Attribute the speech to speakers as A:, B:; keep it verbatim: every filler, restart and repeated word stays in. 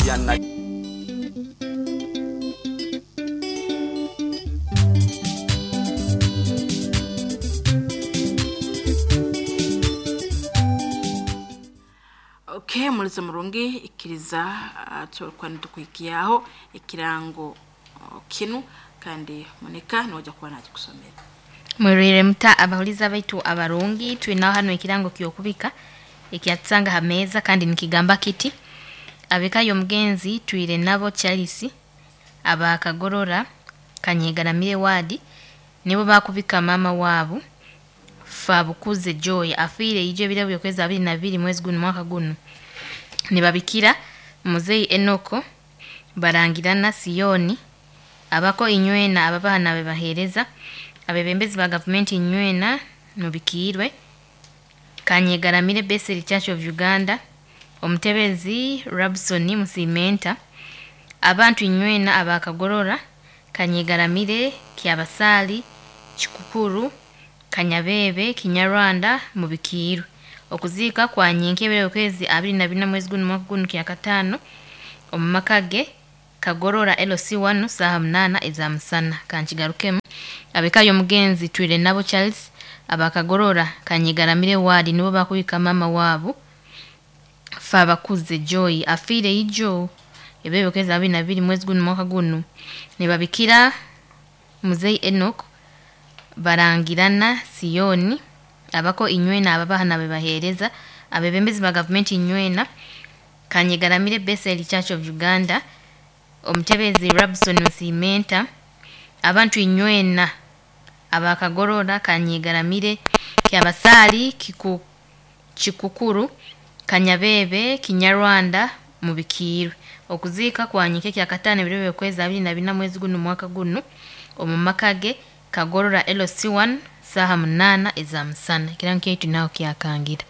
A: Yana.
B: Okay, mulizo murungi ikiriza uh, tulikuwa nitukuikiaho ekirango uh, kinu kandi Monica noja kuba nakikusomera.
C: Mwerere muta abahuliza baitu abarungi twinaho hano ekirango kyokubika ekyatusanga ha meeza kandi nikigamba kiti abekayo omugenzi twire nabo Charles abakagorora Kanyegaramire wadi nibo bakubika mama waabo Fabukuze Joy afiire ijo ebiro byokwezi abiri na bibiri mwezi guno mwaka guno nibabikira muzeyi Enoko barangirana Siyoni abako inywena ababaana bebaheereza abebembezi ba gavumenti inywena mubikiirwe Kanyegaramire Bethel Church of Uganda omutebezi Rabson Musimenta abantu inywena abakagorora Kanyegaramire Kyabasaali Kikukuru Kanyabebe Kinyarwanda mubikiirwe okuziika kwa nyinkebere okwezi abiri na bina mwezi guno mwaka guno kyakataano omu maka ge Kagorora L C one saaha munaana eza musana kankigarukemu abekayo omugenzi twire nabo Charles abakagorora Kanyegaramire wadi nibo bakubika mama waabo Fabakuze Joy afiire ijo ebyo okwezi abiri na bibiri mwezi guno mwaka guno nibabikira muzeyi Enoch barangirana Siyoni abako inywena ababahana bebaheereza abebembezi ba gavumenti inywena Kanyegaramire Bethel Church of Uganda omutebezi Rabson Musimenta abantu inywena abakagorora Kanyegaramire Kyabasaali Kiku, Kikukuru Kanyabebe Kinyarwanda mubikiirwe okuziika kwanyike kyakataano ebiro byokwezi abiri na bina mwezi guno mwaka guno omu maka ge Kagorora L C one saaha munaana eza musana ekirango kyaitu naho kyakangira.